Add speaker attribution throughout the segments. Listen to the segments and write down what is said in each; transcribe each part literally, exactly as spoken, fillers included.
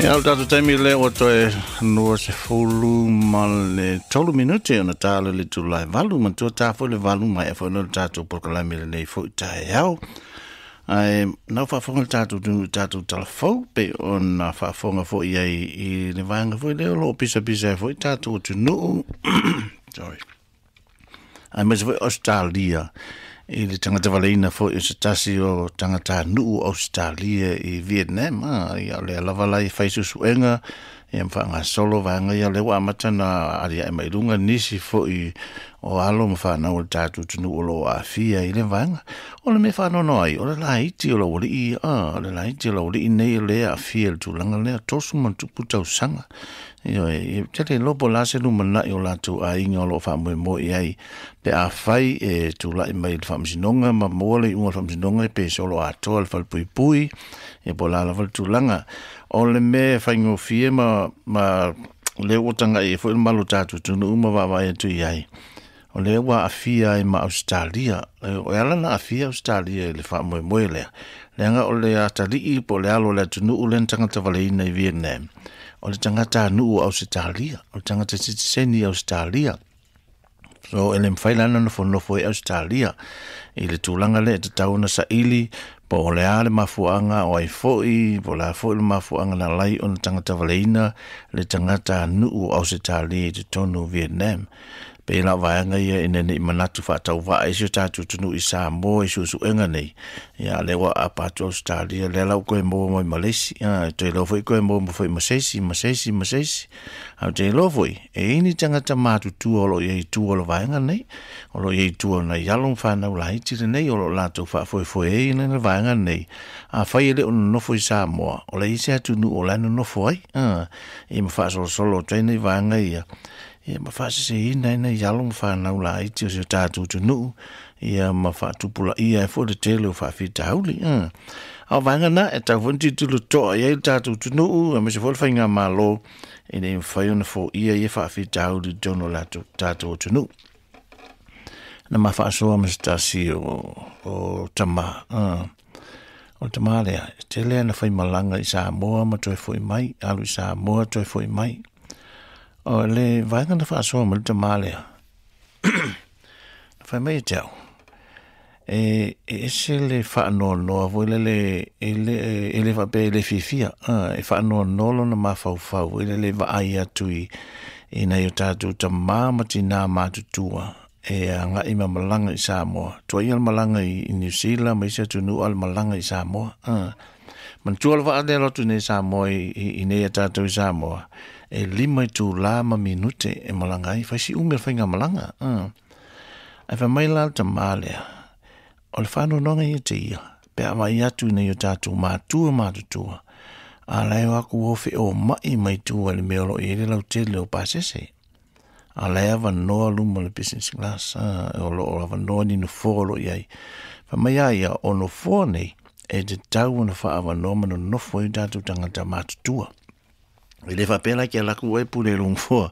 Speaker 1: Ia o le tatou taimi lea ua toe lua sefulu ma le tolu minute ona ta le le itula e valu matua ta foi le valu maea foi lea o le tatou polokalame i lenei foi taeao. Ae na ua faafofoga le tatou atunuu i tatou talafou pei ona faafofoga foi i ai i le vaega foi lea o lo o pisapisa ai foi tatou atunuu sorry aemaise foi Ausetalia i le tagata valeina foi o se tasi o tagatanuu o Ausetalia i Vietnam. Ah, ia o lea lava la e fai suesuega ia ma faagasolo vaega ia, lea ua amata ona aliae mai luga nisi foi o alo ma fanau o le tatou atunuu o lo o aafia i le vaega. O le mea faanoanoa ai, o le laiti o le aualii, ah, o le laiti o le aualii nei o lea e aafia i le tulaga lea, tosu ma tupu tausaga. Ioe, e tele iloa po o le a se lumanai o latou aiga o lo o faamoemoe i ai pe afai e tulai mai i le faamasinoga ma maua le iuga o le faamasinoga pe solo atoa le falepuipui, ia po o le a lava le tulaga. O le mea e faigofie ma, ma lea ua tagai ai foi le malu o tatou atunuu ma vaavaai atu i ai, o lea ua aafia ai ma Ausetalia. E ala ona aafia Ausetalia i le faamoemoe lea, leaga o le atalii po o le alo o le atunuu lea na tagata valeina i Vietnam, o le tagatanuu o Ausetalia, o le tagata sitiseni i Ausetalia. So e le mafai la ona nofonofo ai Ausetalia i le tulaga lea, e tatau ona saili po o le a le mafuaaga o ai foi, po o le a foi le mafuaaga na ala ai ona tagata valeina le tagatanuu o Ausetalia i totonu o Vietnam. Pei la o vaega ia ina ne i manatu faatauvaa ai si o tatou atunuu i Samoa i suesuega nei, ia lea ua aapa atu Ausetalia, lea la ua toe maua mai ma le isi, a toe iloa foi toe maua mai foi ma se isi, ma se isi, ma se isi. Ae ou te iloa foi, e i ai ni tagata matutua o lo o i ai i tua o le vaega nei, o lo o i ai i tua o nai alo ma fanau laiti lenei o lo o latou faafoefoe ai le vaega nei. Afai e le o nonofo i Samoa, o le i ai se atunuu o la e nonofo ai, a, ia ma faasolosolo atu ai nai vaega ia, ia ma faaseseina ai nai alo ma fanau laiti o si o tatou atunuu, ia ma faatupulaia ai foi le tele o faafitauli. A o vaega na e tatau foi ona tilotilo totoa i ai le tatou atunuu, aemaise foi le faigamalo, ina ia mafai ona foia ia faafitauli i totonu o le tatou atunuu. Na ma faasoa ma se tasi o, o tama, uh, o le tama lea, e tele ana faimalaga i Samoa ma toe foi mai, alu i Samoa toe foi mai. O le vaega na faasoa mai le tama lea, na fai mai e te au, e, e ese le faanoanoa foi lele, e le, e le faapea e le fiafia, uh, e faanoanoa lona mafaufau foi lele vaai atu i, i nai o tatou tamā ma tinā matutua e agai ma malaga i Samoa. Tuaia le malaga i, i New Zealand ma isi atunuu, a le malaga i Samoa. Uh. Manatua le vaa lea alu atu nei i Samoa i, i, i nei a tatou i Samoa, e lima itula ma minute e malaga ai, fai si umi o le faigamalaga. Uh. Ae fai mai la le tamā lea, o le faanoanoaga ia te ia, pe a vaai atu i nei o tatou matua matutua, a la e o atu o feomai mai tua i le mea o lo o i ai le lautele o pasese. A la e avanoa luma o le business class, a, o lo o avanoa ni nofoa o lo o i ai. Fai mai a ia, o nofoa nei, e tatau ona faaavanoa ma nonofo ai o tatou tagata matutua. E le faapea la ke ala atu oe pule i lou nofoa,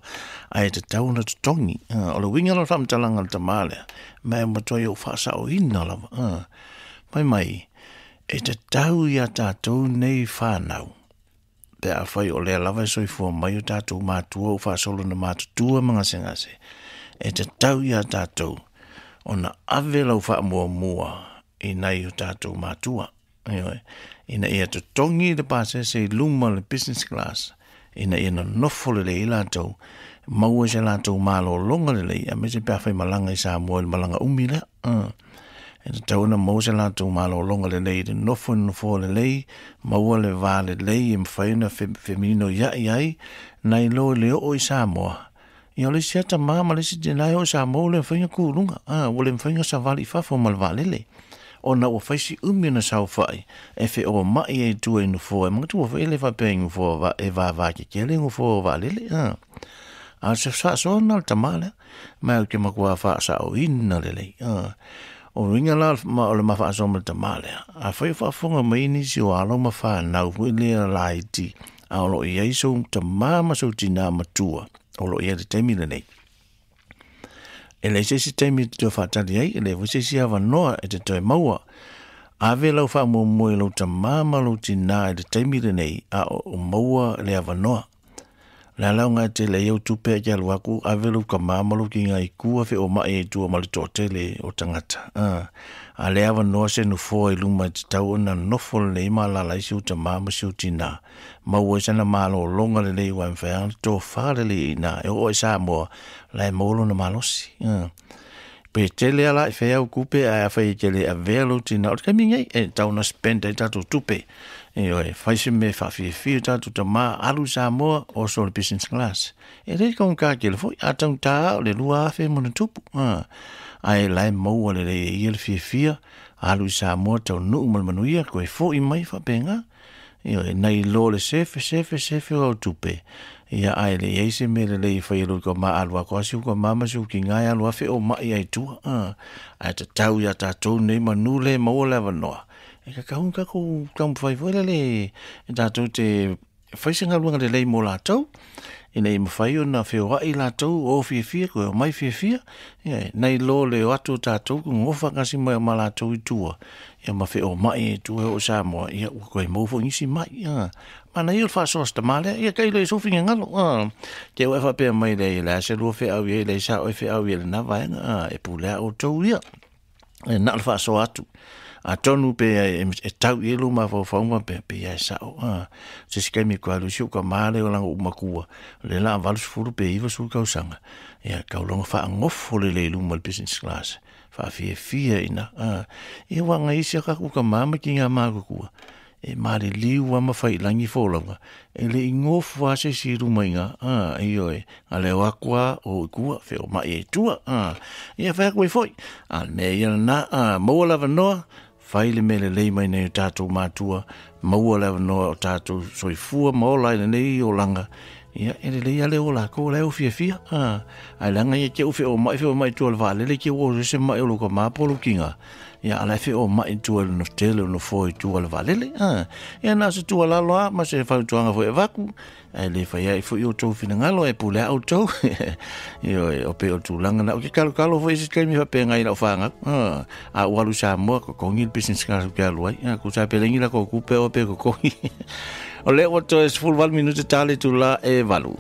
Speaker 1: ae tatau ona totogi. A, o le uiga la o le faamatalaga a le tamā lea, ma e matua i ou faasaoina lava. A, fai mai, e tatau iā tatou nei whanau, pe afai o lea lava e soifua mai o tatou matua ua faasolo ona matutua ma gasegase, e tatau iā tatou ona ave lau faamuamua i nai o tatou matua. Ioe, ina ia totogi le pasese i luma o le business class, ina ia nonofo lelei ai latou, maua i se latou malologa lelei, aemaise pe afai malaga i Samoa i le malaga umi lea. Uh. E tatau ona maua se latou malologa lelei i le nofo i le nofoa lelei, maua le va lelei e mafai ona femininoia'i ai, nai lo le oo i Samoa. Ia o le isi lava tamā ma le isi tinā e oo i Samoa ua le mafai ona kū i luga, a, ua le mafai ona savali i fafo ma le vaalele, ona ua fai si umi ona saofai e feoma'i ai i tua i nofoa. E manatua foi e le faapea i nofoa e vavā kekele nofoa o vaalele, a. A o se faasoa lena o le tamā lea, ma ou te matua faasaoina lelei. A, o le uiga la o le ma faasoa ma le tamā lea, afai o faafofoga mai nisi o alo ma fanau foi lea laiti, a o lo o i ai sou tamā ma sou tinā matua o lo o i ai i le taimi lenei, e leai se isi taimi e te toe faatali ai, e leai foi se isi avanoa e te toe maua. Ave lau faamuamua i lou tamā ma lou tinā i le taimi lenei a o maua le avanoa. Le ala o tele ai au tupe e te alu aku ave lou kamā ma lou kiga i kua feoma'i ai tua ma le to'atele o tagata. A le avanoa se nofoa i luma e tatau ona nofo lelei ma alala ai si ou tamā ma si ou tinā maua ai sana malōlōga lelei ua e mafai lava ona tofā lelei iinā e oo ai Samoa la e maua lona malosi. Pe tele ala i fea au kupe ae afai e te le avea lou tinā o le taimi nei e tatau ona spend ai tatou tupe. Ioe, fai se mea faafiafia o tatou tamā alu i Samoa oso le business class. E le taugata tele foi, a taugata lava o le lua afe ma ona tupu. Ae la e maua lelei e ia le fiafia, alu i Samoa taunuu ma le manuia, toe fo'i mai faapena. Ioe, nai lo le sefe sefe sefe o au tupe. Ia ae le i ai se mea lelei e fai e lou tamā alu atu lava si ou tamā ma si ou tinā e alu afe o ma'i ai tua. Ae tatau iā tatou nei manu le maua le avanoa. E tatau ona tatou taumafai foi lele e tatou te fai se galuega lelei mo latou ina ia mafai ona feoa'i latou o fiafia toe omai fiafia. Ia nai lo le o atu o tatou gofa faatasi mai ma latou i tua ia ma feoma'i i tua e oo i Samoa ia ua toe maua foi nisi ma'i. Manaia o le faasoa se tamā lea ia tailo i sou finagalo. Te au e faapea mai lea ia le a se lua feau i ai leai sa oe feau i ai lena vaega e pule a outou ia e na o le faasoa atu. Atonu pe e tau i ai lou mafaufauga pe pe ia e sa'o a se isi taimi e toe alu ai si ou tamā lea o lana ou matua o lea o le a valu sefulu pe iva sefulu tausaga ia tau loga faagofo lelei i luma o le business class faafiafia iina a ia ua agaisi a tatou tamā ma tiga matutua e maliliu lava ma faiilagi folauga e le i gofo lava se isi i luma iina a ioe na le o atu lava o i tua feoma'i ai tua a ia fai atu ai foi a o le mea ia lena a maua le avanoa fai le mea lelei mai nai o tatou matua maua le avanoa o tatou soifua ma ola ai lenei olaga ia e lelei lava le o latou o la e o fiafia a ae leaga ia te u feoma'i feoma'i i tua o le vaalele te ua oso ai se ma'i o lou tamā po o lou tiga ia a o la e feoma'i i tua i le tele o nofoa i tua o le vaalele a ia na o se tuualalo lava ma se fautuaga foi e avatu ae le fai ai foi outou finagalo e pule a outou. Ioe, o pei o le tulaga na ou te talotalo foi i se taimi faapena i lau fanau a ou alu i Samoa totogi le business class ou te alu ai tusa pe leai ni latou tupe o pe totogi. O lea ua toe sefulu valu minute ta le itulā e valu.